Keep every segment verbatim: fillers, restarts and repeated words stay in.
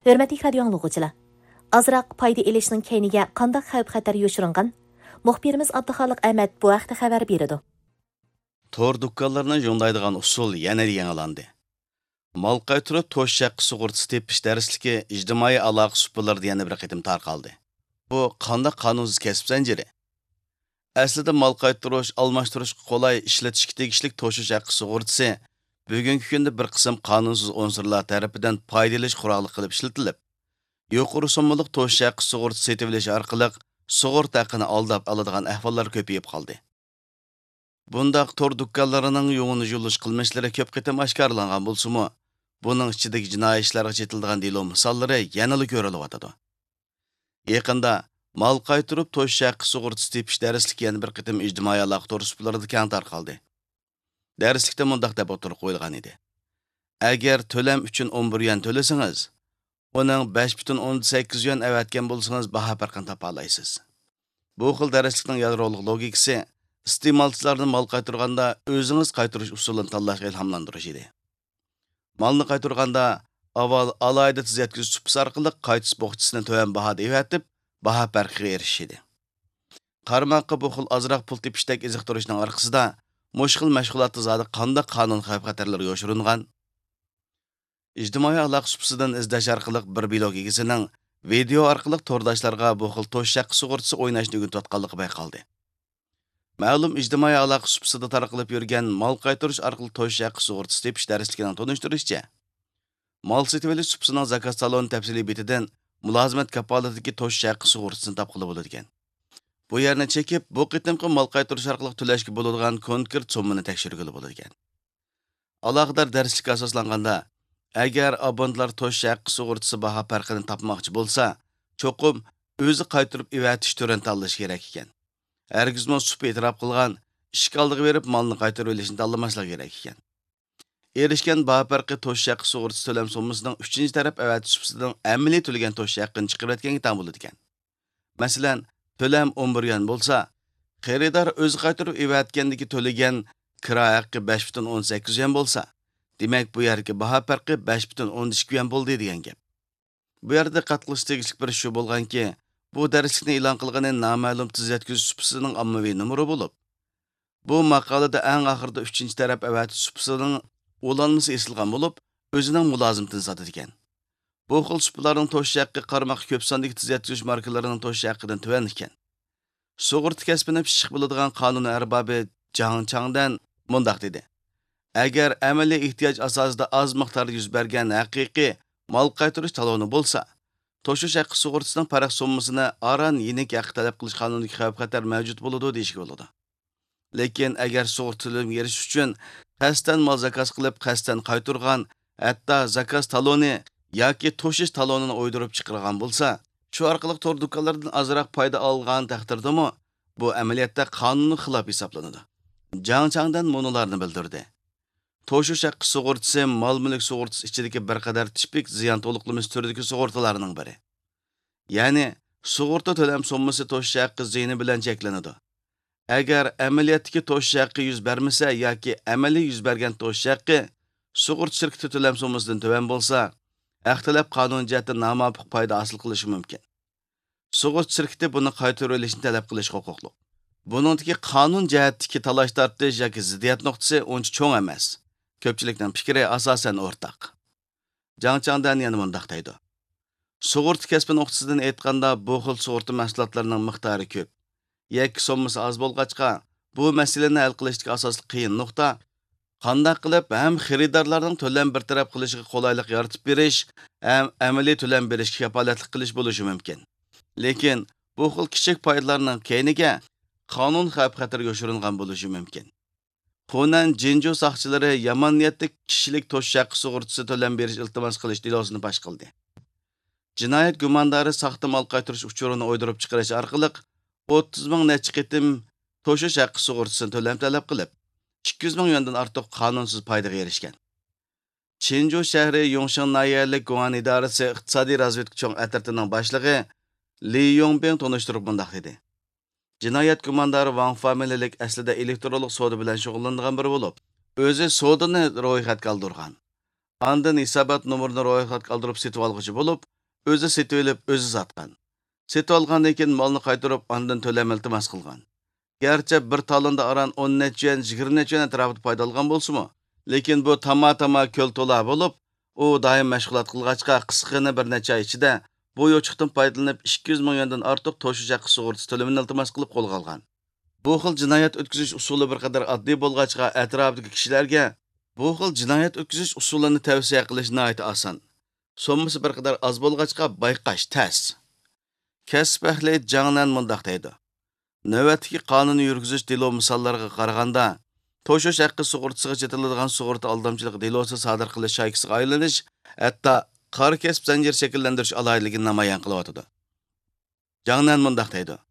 ھۆرمەتلىك رادىيو ئاڭلىغۇچىلار! ئازراق پايدا ئېلىشنىڭ كەينىگە قانداق خەۋپ-خەتەر يوشۇرۇنغان؟ مۇخبىرىمىز ئابدۇخالىق ئەمەت بۇ ھەقتە خەۋەر بېرىدۇ. تور دۇكانلىرىنى ژوندايدىغان ئۇسۇل يەنە يېڭىلاندى. مال قايتۇرۇپ توشۇش ھەققى سۇغۇرتىسى تېپىش دەرسلىكى ئىجتىمائىي ئالاقە سۇپىلىرىدا يەنە بىر قېتىم تارقالدى. بۇ قانداق قانۇنسىز كەسىپ زەنجىرى؟ ئەسلىدە مال قايتۇرۇش، ئالماشتۇرۇشقا قولاي، ئىشلىتىشكە تېگىشلىك توشۇش ھەققى سۇغۇرتىسى بۈگۈنكى كۈندە بىر قىسىم قانۇنسىز ئۇنسۇرلار تەرىپىدىن پايدا ئېلىش قورالى قىلىپ ئىشلىتىلىپ، يۇقىرى سوممىلىق توشۇش ھەققى سۇغۇرتىسى سېتىۋېلىش ئارقىلىق سۇغۇرتا ھەققىنى ئالداپ ئالىدىغان ئەھۋاللار كۆپىيىپ قالدى. بۇنداق تور دۇكانلىرىنىڭ يۇڭىنى يۇلۇش قىلمىشلىرى كۆپ قېتىم ئاشكارىلانغان بولسىمۇ، بۇنىڭ ئىچىدىكى جىنايى ئىشلارغا چېتىلىدىغان دېلو مىساللىرى يەنىلا كۆرۈلۈۋاتىدۇ. يېقىندا مال قايتۇرۇپ توشۇش ھەققى سۇغۇرتىسى تېپىش دەرسلىكى يەنە بىر قېتىم ئىجتىمائىي ئالاقە تور سۇپىلىرىدا كەڭ تارقالدى. دەرسلىكتە مۇنداق دەپ ئوتتۇرىغا قويۇلغان ئىدى: ئەگەر تۆلەم ئۈچۈن ئون بىر يۈەن تۆلىسىڭىز، ئۇنىڭ بەش پۈتۈن ئوندىن سەككىز يۈەن ئەۋەتكەن بولسىڭىز، باھا پەرقىنى تاپالايسىز. بۇ خىل دەرسلىكنىڭ يادرولۇق لوگىكىسى ئىستېمالچىلاردىن مال قايتۇرغاندا ئۆزىڭىز قايتۇرۇش ئۇسۇلىنى تاللاشقا ئىلھاملاندۇرۇش ئىدى. مالنى قايتۇرغاندا ئاۋۋال ئالاھىدە تېز يەتكۈزۈش سۇپىسى ئارقىلىق قايتۇش بوخچىسىنى تۆۋەن باھادا ئېۋەتىپ، باھا پەرقىگە ئېرىشىش ئىدى. قارىماققا، بۇ خىل ئازراق پۇل تېپىشتەك ئېزىقتۇرۇشنىڭ ئارقىسىدا مۇشۇ خىل مەشغۇلاتتا زادى قانداق قانۇن خەۋپ-خەتەرلىرى يوشۇرۇنغان؟ ئىجتىمائىي ئالاقە سۇپىسىدىن ئىزدەش ئارقىلىق بىر بىلوگ ئىگىسىنىڭ ۋىدېئو ئارقىلىق تورداشلارغا بۇ خىل توشۇش ھەققى سۇغۇرتىسى ئويناشنى ئۆگىتىۋاتقانلىقى بايقالدى. مەلۇم ئىجتىمائىي ئالاقە سۇپىسىدا تارقىلىپ يۈرگەن مال قايتۇرۇش ئارقىلىق توشۇش ھەققى سۇغۇرتىسى تېپىش دەرسلىكىنىڭ تونۇشتۇرۇشىچە، مال سېتىۋېلىش سۇپىسىنىڭ زاكاز تالونى تەپسىلىي بېتىدىن مۇلازىمەت كاپالىتىدىكى توشۇش ھەققى سۇغۇرتىسىنى تاپقىلى بولىدىكەن. بۇ يەرنى چېكىپ، بۇ قېتىمقى مال قايتۇرۇش ئارقىلىق تۆلەشكە بولىدىغان كونكرېت سوممىنى تەكشۈرگىلى بولىدىكەن. ئالاقىدار دەرسلىككە ئاساسلانغاندا، ئەگەر ئابونېنتلار توشۇش ھەققى سۇغۇرتىسى باھا پەرقىنى تاپماقچى بولسا، چوقۇم ئۆزى قايتۇرۇپ ئېۋەتىش تۈرىنى تاللىشى كېرەك ئىكەن. ھەرگىزمۇ سۇپا ئېتىراپ قىلغان ئىشىك ئالدىغا بېرىپ مالنى قايتۇرۇۋېلىشنى تاللىماسلىقى كېرەك ئىكەن. ئېرىشكەن باھا پەرقى توشۇش ھەققى سۇغۇرتىسى تۆلەم سوممىسىنىڭ ئۈچىنچى تەرەپ ئەۋەتىش سۇپىسىنىڭ ئەمەلىي تۆلىگەن توشۇش ھەققىنى چىقىرىۋەتكەنگە تەڭ بولىدىكەن. مەسىلەن، تۆلەم ئون بىر يۈەن بولسا، خېرىدار ئۆزى قايتۇرۇپ ئېۋەتكەندىكى تۆلىگەن كىرا ھەققى بەش پۈتۈن ئون سەككىز يۈەن بولسا، دېمەك، بۇ يەردىكى باھا پەرقى بەش پۈتۈن ئون ئىككى يۈەن بولدى دېگەن گەپ. بۇ يەردە دىققەت قىلىش تېگىشلىك بىر ئىش شۇ بولغانكى، بۇ دەرسلىكنى ئېلان قىلغىنى نامەلۇم تېز يەتكۈزۈش سۇپىسىنىڭ ئاممىۋى نومۇرى بولۇپ، بۇ ماقالىدە ئەڭ ئاخىرىدا ئۈچىنچى تەرەپ ئەۋەتىش سۇپىسىنىڭ ئۇلانمىسى ئېسىلغان بولۇپ، ئۆزىنىڭ مۇلازىمىتىنى ساتىدىكەن. بۇ خىل سۇپىلاردىن توشۇش ھەققى قارىماققا كۆپ ساندىكى تېز يەتكۈزۈش ماركىلىرىنىڭ توشۇش ھەققىدىن تۆۋەن ئىكەن. سۇغۇرتا كەسپىنى پىششىق بىلىدىغان قانۇن ئەربابى جاڭ چاڭدەن مۇنداق دېدى: ئەگەر ئەمەلىي ئېھتىياج ئاساسىدا ئاز مىقداردا يۈز بەرگەن ھەقىقىي مال قايتۇرۇش تالونى بولسا، توشۇش ھەققى سۇغۇرتىسىنىڭ پەرق سوممىسىنى ئاران يېنىك ھەققى تەلەپ قىلىش قانۇنىدىكى خەۋپ-خەتەر مەۋجۇت بولىدۇ دېيىشكە بولىدۇ. لېكىن ئەگەر سۇغۇرتا تۆلىمىگە ئېرىشىش ئۈچۈن قەستەن مال زاكاز قىلىپ، قەستەن قايتۇرغان، ھەتتا زاكاز تالونى ياكى توشۇش تالونىنى ئويدۇرۇپ چىقىرغان بولسا، شۇ ئارقىلىق تور دۇكانلىرىدىن ئازراق پايدا ئالغان تەقدىردىمۇ، بۇ ئەمەلىيەتتە قانۇنغا خىلاپ ھېسابلىنىدۇ. جاڭ چاڭدەن مۇنۇلارنى بىلدۈردى: توشۇش ھەققى سۇغۇرتىسى مال-مۈلۈك سۇغۇرتىسى ئىچىدىكى بىر قەدەر تىپىك زىيان تولۇقلىمىسى تۈرىدىكى سۇغۇرتىلارنىڭ بىرى. يەنى، سۇغۇرتا تۆلەم سوممىسى توشۇش ھەققى زىيىنى بىلەن چەكلىنىدۇ. ئەگەر ئەمەلىيەتتىكى توشۇش ھەققى يۈز بەرمىسە ياكى ئەمەلىي يۈز بەرگەن توشۇش ھەققى سۇغۇرتا شىركىتى تۆلەم سوممىسىدىن تۆۋەن بولسا، ھەق تەلەپ قانۇن جەھەتتىن نامۇۋاپىق پايدا ھاسىل قىلىشى مۇمكىن. سۇغۇرتا شىركىتى بۇنى قايتۇرۇۋېلىشنى تەلەپ قىلىشقا ھوقۇقلۇق. بۇنىڭدىكى قانۇن جەھەتتىكى تالاش-تارتىش ياكى زىددىيەت نۇقتىسى ئۇنچە چوڭ ئەمەس. كۆپچىلىكنىڭ پىكرى ئاساسەن ئورتاق. جاڭ چاڭدەن يەنە مۇنداق دەيدۇ: سۇغۇرتا كەسپى نۇقتىسىدىن ئېيتقاندا، بۇ خىل سۇغۇرتا مەھسۇلاتلىرىنىڭ مىقدارى كۆپ. يەككە سوممىسى ئاز بولغاچقا، بۇ مەسىلىنى ھەل قىلىشتىكى ئاساسلىق قىيىن نۇقتا، قانداق قىلىپ ھەم خېرىدارلارنىڭ تۆلەم بىر تەرەپ قىلىشىغا قولايلىق يارىتىپ بېرىش، ھەم ئەمەلىي تۆلەم بېرىشكە كاپالەتلىك قىلىش بولۇشى مۇمكىن. لېكىن بۇ خىل كىچىك پايدىلارنىڭ كەينىگە قانۇن خەۋپ-خەتىرى يوشۇرۇنغان بولۇشى مۇمكىن. خۇنەن جىنجۇ ساقچىلىرى يامان نىيەتلىك كىشىلىك توشۇش ھەققى سۇغۇرتىسى تۆلەم بېرىش ئىلتىماس قىلىش دېلوسىنى پاش قىلدى. جىنايەت گۇماندارى ساختا مال قايتۇرۇش ئۇچۇرىنى ئويدۇرۇپ چىقىرىش ئارقىلىق ئوتتۇز مىڭ نەچچە قېتىم توشۇش ھەققى سۇغۇرتىسىنى تۆلەم تەلەپ قىلىپ، ئىككى يۈز مىڭ يۈەندىن ئارتۇق قانۇنسىز پايدىغا ئېرىشكەن. چىنجۇ شەھىرى يۇڭشېڭ ناھىيەلىك گۇڭئەن ئىدارىسى ئىقتىسادىي رازۋېدكا چوڭ ئەترىتىنىڭ باشلىقى لى يۇڭبىڭ تونۇشتۇرۇپ مۇنداق دېدى: جىنايەت گۇماندارى ۋاڭ فامىلىلىك، ئەسلىدە ئېلېكترونلۇق سودا بىلەن شۇغۇللىنىدىغان بىرى بولۇپ، ئۆزى سودىنى رويخەتكە ئالدۇرغان. ئاندىن ھېسابات نومۇرىنى رويخەتكە ئالدۇرۇپ سېتىۋالغۇچى بولۇپ، ئۆزى سېتىۋېلىپ، ئۆزى ساتقان. سېتىۋالغاندىن كېيىن مالنى قايتۇرۇپ، ئاندىن تۆلەم ئىلتىماس قىلغان. گەرچە بىر تالوندا ئاران ئون نەچچە يۈەن، يىگىرمە نەچچە يۈەن ئەتراپىدا پايدا ئالغان بولسىمۇ، لېكىن بۇ تاما-تاما كۆل تولا بولۇپ، ئۇ دائىم مەشغۇلات قىلغاچقا، قىسقىغىنە بىر نەچچە ئاي ئىچىدە بۇ يوچۇقتىن پايدىلىنىپ، ئىككى يۈز مىڭ يۈەندىن ئارتۇق توشۇش ھەققى سۇغۇرتىسى تۆلىمىنى ئىلتىماس قىلىپ قولغا ئالغان. بۇ خىل جىنايەت ئۆتكۈزۈش ئۇسۇلى بىر قەدەر ئاددىي بولغاچقا، ئەتراپىدىكى كىشىلەرگە بۇ خىل جىنايەت ئۆتكۈزۈش ئۇسۇلىنى تەۋسىيە قىلىش ناھايىتى ئاسان. سوممىسى بىر قەدەر ئاز بولغاچقا، بايقاش تەس. كەسىپ ئەھلى جاڭ نەن مۇنداق دەيدۇ: نۆۋەتتىكى قانۇن يۈرگۈزۈش دېلو مىساللىرىغا قارىغاندا، توشۇش ھەققى سۇغۇرتىسىغا چېتىلىدىغان سۇغۇرتا ئالدامچىلىقى دېلوسى سادىر قىلىش شايكىسىغا ئايلىنىش، ھەتتا قارا كەسىپ زەنجىرى شەكىللەندۈرۈش ئالاھىدىلىكىنى نامايان قىلىۋاتىدۇ. جاڭ نەن مۇنداق دەيدۇ: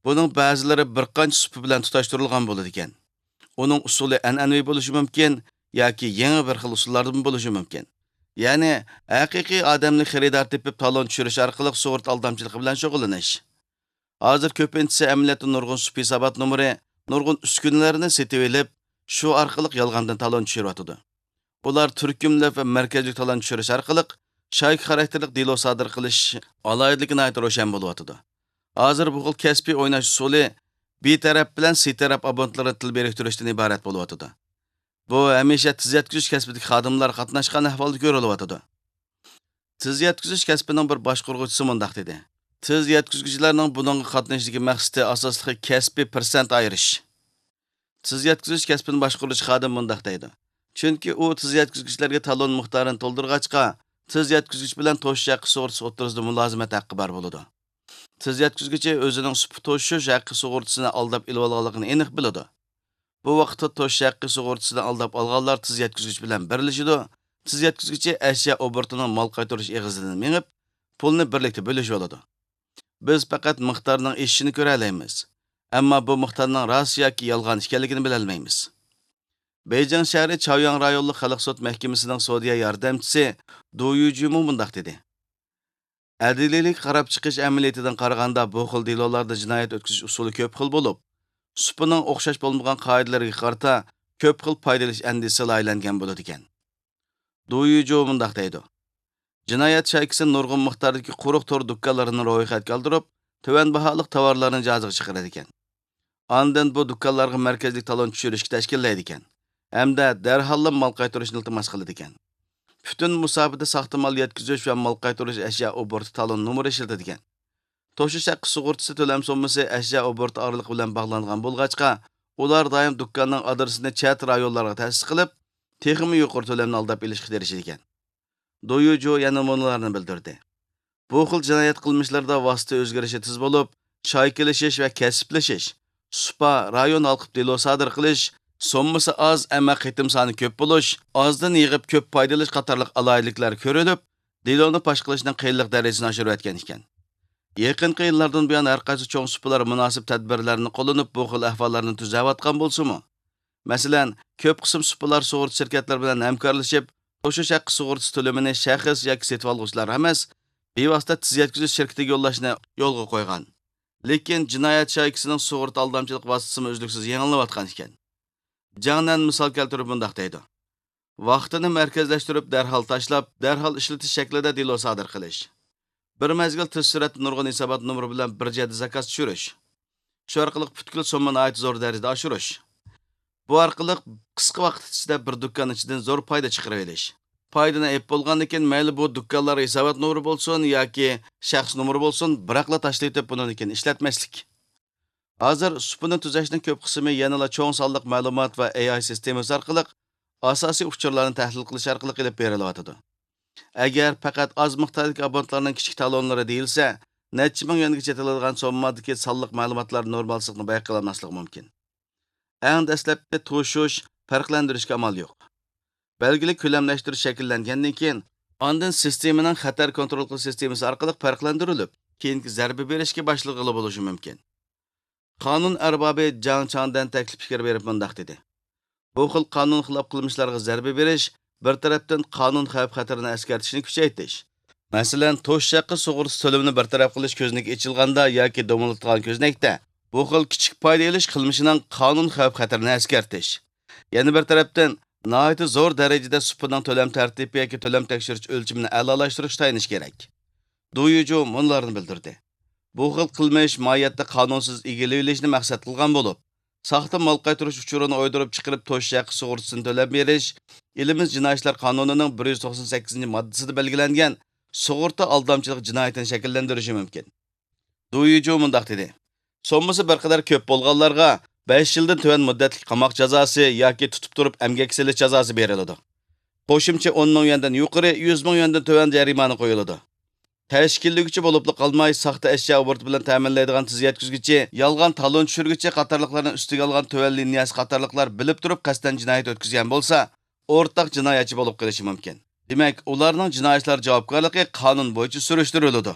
بۇنىڭ بەزىلىرى بىر قانچە سۇپا بىلەن تۇتاشتۇرۇلغان بولىدىكەن. ئۇنىڭ ئۇسۇلى ئەنئەنىۋى بولۇشى مۇمكىن ياكى يېڭى بىر خىل ئۇسۇللاردىن بولۇشى مۇمكىن. يەنى، ھەقىقىي ئادەملىك خېرىدار تېپىپ، تالون چۈشۈرۈش ئارقىلىق سۇغۇرتا ئالدامچىلىقى بىلەن شۇغۇللىنىش. ھازىر كۆپىنچىسى ئەمەلىيەتتە نۇرغۇن سۇپا ھېسابات نومۇرى، نۇرغۇن ئۈسكۈنىلەرنى سېتىۋېلىپ، شۇ ئارقىلىق يالغاندىن تالون چۈشۈرۈۋاتىدۇ. ئۇلار تۈركۈملەپ ۋە مەركەزلىك تالون چۈشۈرۈش ئارقىلىق شايكا خاراكتېرلىك دېلو سادىر قىلىش ئالاھىدىلىكى ناھايىتى روشەن بولۇۋاتىدۇ. ھازىر بۇ خىل كەسپىي ئويناش ئۇسۇلى بى تەرەپ بىلەن سى تەرەپ ئابونتلىرىنى تىل بىرىكتۈرۈشتىن ئىبارەت بولۇۋاتىدۇ. بۇ ھەمىشە تېز يەتكۈزۈش كەسپىدىكى خادىملار قاتناشقان ئەھۋالدا كۆرۈلۈۋاتىدۇ. تېز يەتكۈزۈش كەسپىنىڭ بىر باشقۇرغۇچىسى مۇنداق دېدى: تېز يەتكۈزگۈچىلەرنىڭ بۇنىڭغا قاتنىشىشتىكى مەقسىتى ئاساسلىقى كەسپىي پىرسەنت ئايرىش. تېز يەتكۈزۈش كەسپىنى باشقۇرغۇچى خادىم مۇنداق دەيدۇ: چۈنكى ئۇ تېز يەتكۈزگۈچلەرگە تالون مىقدارىنى تولدۇرغاچقا، تېز يەتكۈزگۈچ بىلەن توشۇش ھەققى سۇغۇرتىسى ئوتتۇرىسىدا مۇلازىمەت ھەققى بار بولىدۇ. تېز يەتكۈزگۈچى ئۆزىنىڭ سۇپا توشۇش ھەققى سۇغۇرتىسىنى ئالداپ ئېلىۋالغانلىقىنى ئېنىق بىلىدۇ. بۇ ۋاقىتتا توشۇش ھەققى سۇغۇرتىسىنى ئالداپ ئالغانلار تېز يەتكۈزگۈچ بىلەن بىرلىشىدۇ. تېز يەتكۈزگۈچى ئەشيا ئوبوروتىنىڭ مال قايتۇرۇش ئېغىزىدىن مېڭىپ، پۇلنى بىرلىكتە بۆلۈشۈۋالىدۇ. بىز پەقەت مىقدارنىڭ ئېشىشىنى كۆرەلەيمىز، ئەمما بۇ مىقدارنىڭ راست ياكى يالغان ئىكەنلىكىنى بىلەلمەيمىز. بېيجىڭ شەھىرى چاۋياڭ رايونلۇق خەلق سوت مەھكىمىسىنىڭ سودىيە ياردەمچىسى دۇ يۈجۈمۇ مۇنداق دېدى: ئەدلىيلىك قاراپ چىقىش ئەمەلىيىتىدىن قارىغاندا، بۇ خىل دېلولاردا جىنايەت ئۆتكۈزۈش ئۇسۇلى كۆپ خىل بولۇپ، سۇپىنىڭ ئوخشاش بولمىغان قائىدىلىرىگە قارىتا كۆپ خىل پايدا ئېلىش ئەندىزىسى لايىھەلەنگەن بولىدىكەن. دۇ يۈجۇ مۇنداق دەيدۇ: جىنايەت شايكىسى نۇرغۇن مىقداردىكى قۇرۇق تور دۇكانلىرىنى رويخەتكە ئالدۇرۇپ، تۆۋەن باھالىق تاۋارلارنى جازىغا چىقىرىدىكەن. ئاندىن بۇ دۇكانلارغا مەركەزلىك تالون چۈشۈرۈشكە تەشكىللەيدىكەن ھەمدە دەرھاللا مال قايتۇرۇشنى ئىلتىماس قىلىدىكەن. پۈتۈن مۇساپىدە ساختا مال يەتكۈزۈش ۋە مال قايتۇرۇش ئەشيا ئوبوروتى تالون نومۇرى ئىشلىتىدىكەن. توشۇش ھەققى سۇغۇرتىسى تۆلەم سوممىسى ئەشيا ئوبوروتى ئارىلىقى بىلەن باغلانغان بولغاچقا، ئۇلار دائىم دۇكاننىڭ ئادرېسىنى چەت رايونلارغا تەسىس قىلىپ، تېخىمۇ يۇقىرى تۆلەمنى ئالداپ ئېلىشقا تىرىشىدىكەن. دۇ يۈجۇ يەنە مۇنۇلارنى بىلدۈردى: بۇ خىل جىنايەت قىلمىشلىرىدا ۋاسىتە ئۆزگىرىشى تېز بولۇپ، شايكىلىشىش ۋە كەسىپلىشىش، سۇپا، رايون ھالقىپ دېلو سادىر قىلىش، سوممىسى ئاز، ئەمما قېتىم سانى كۆپ بولۇش، ئازدىن يىغىپ كۆپ پايدا ئېلىش قاتارلىق ئالاھىدىلىكلەر كۆرۈلۈپ، دېلونى پاش قىلىشنىڭ قىيىنلىق دەرىجىسىنى ئاشۇرۇۋەتكەن ئىكەن. يېقىنقى يىللاردىن بۇيان ھەر قايسى چوڭ سۇپىلار مۇناسىپ تەدبىرلەرنى قوللىنىپ، بۇ خىل ئەھۋاللارنى تۈزەۋاتقان بولسىمۇ، مەسىلەن، كۆپ قىسىم سۇپىلار سۇغۇرتا شىركەتلىرى بىلەن ھەمكارلىشىپ، توشۇش ھەققى سۇغۇرتىسى تۆلىمىنى شەخس ياكى سېتىۋالغۇچىلار ئەمەس، بىۋاسىتە تېز يەتكۈزۈش شىركىتىگە يوللاشنى يولغا قويغان. لېكىن جىنايەت شايكىسىنىڭ سۇغۇرتا ئالدامچىلىق ۋاسىتىسىمۇ ئۈزلۈكسىز يېڭىلىنىۋاتقان ئىكەن. جاڭ نەن مىسال كەلتۈرۈپ مۇنداق دەيدۇ: ۋاقتىنى مەركەزلەشتۈرۈپ، دەرھال تاشلاپ، دەرھال ئىشلىتىش شەكلىدە دېلو سادىر قىلىش. بىر مەزگىل تېز سۈرئەتتە نۇرغۇن ھېسابات نومۇرى بىلەن بىر جەھەتتە زاكاز چۈشۈرۈش. شۇ ئارقىلىق پۈتكۈل سومما ناھايىتى زور دەرىجىدە ئاشۇرۇش. بۇ ئارقىلىق قىسقا ۋاقىت ئىچىدە بىر دۇكان ئىچىدىن زور پايدا چىقىرىۋېلىش. پايدىنى ئېلىپ بولغاندىن كېيىن، مەيلى بۇ دۇكانلار ھېسابات نومۇرى بولسۇن ياكى شەخس نومۇرى بولسۇن، بىراقلا تاشلىۋېتىپ، بۇنىڭدىن كېيىن ئىشلەتمەسلىك. ھازىر سۇپىنى تۈزەشنىڭ كۆپ قىسمى يەنىلا چوڭ سانلىق مەلۇمات ۋە ئېي ئاي سىستېمىسى ئارقىلىق ئاساسىي ئۇچۇرلارنى تەھلىل قىلىش ئارقىلىق ئېلىپ بېرىلىۋاتىدۇ. ئەگەر پەقەت ئاز مىقداردىكى ئابونتلارنىڭ كىچىك تالونلىرى دېيىلسە، نەچچە مىڭ يۈەنگىچە يېتىلىدىغان سوممىدىكى سانلىق مەلۇماتلار نورمالسىزلىقنى بايقىلالماسلىقى مۇمكىن. ئەڭ دەسلەپتە توشۇش، پەرقلەندۈرۈشكە ئامال يوق. بەلگىلىك كۆلەملەشتۈرۈش شەكىللەنگەندىن كېيىن، ئاندىن سىستېمىنىڭ خەتەر كونترول قىلىش سىستېمىسى ئارقىلىق پەرقلەندۈرۈلۈپ، كېيىنكى زەربە بېرىشكە باشلىغىلى بولۇشى مۇمكىن. قانۇن ئەربابى جاڭ چاڭدەن تەكلىپ پىكىر بېرىپ مۇنداق دېدى: بۇ خىل قانۇن خىلاپ قىلمىشلارغا زەربە بېرىش، بىر تەرەپتىن قانۇن خەۋپ خەتىرىنى ئەسكەرتىشنى كۈچەيتىش. مەسىلەن، توشۇش ھەققى سۇغۇرتىسى تۆلىمىنى بىر تەرەپ قىلىش كۆزنىكى ئېچىلغاندا ياكى دومىلىتىلغان كۆزنەكتە، بۇ خىل كىچىك پايدا ئېلىش قىلمىشىنىڭ قانۇن خەۋپ خەتىرىنى ئەسكەرتىش. يەنە بىر تەرەپتىن، ناھايىتى زور دەرىجىدە سۇپىنىڭ تۆلەم تەرتىپى ياكى تۆلەم تەكشۈرۈش ئۆلچىمىنى ئەلالاشتۇرۇشقا تايىنىش كېرەك. دۇ يۈجۇ مۇنۇلارنى بىلدۈردى: بۇ خىل قىلمىش ماھىيەتتە قانۇنسىز ئىگىلىۋېلىشنى مەقسەت قىلغان بولۇپ، ساختا مال قايتۇرۇش ئۇچۇرىنى ئويدۇرۇپ چىقىرىپ توشۇش ھەققى سۇغۇرتىسىنى تۆلەپ بېرىش ئېلىمىز جىنايى ئىشلار قانۇنىنىڭ بىر يۈز توقسان سەككىزىنچى ماددىسىدا بەلگىلەنگەن سۇغۇرتا ئالدامچىلىق جىنايىتىنى شەكىللەندۈرۈشى مۇمكىن. دۇ يۈجۇ مۇنداق دېدى: سوممىسى بىر قەدەر كۆپ بولغانلارغا بەش يىلدىن تۆۋەن مۇددەتلىك قاماق جازاسى ياكى تۇتۇپ تۇرۇپ ئەمگەككە سېلىش جازاسى بېرىلىدۇ. قوشۇمچە ئون مىڭ يۈەندىن يۇقىرى، يۈز مىڭ يۈەندىن تۆۋەن جەرىمانە قويۇلىدۇ. تەشكىللىگۈچى بولۇپلا قالماي، ساختا ئەشيا ئوبوروتى بىلەن تەمىنلەيدىغان تېز يەتكۈزگۈچى، يالغان تالون چۈشۈرگۈچى قاتارلىقلارنى ئۈستىگە ئالغان تۆۋەن لىنىيەسى قاتارلىقلار بىلىپ تۇرۇپ قەستەن جىنايەت ئۆتكۈزگەن بولسا، ئورتاق جىنايەتچى بولۇپ قېلىشى مۇمكىن. دېمەك، ئۇلارنىڭ جىنايى ئىشلار جاۋابكارلىقى قانۇن بويىچە سۈرۈشتۈرۈلىدۇ.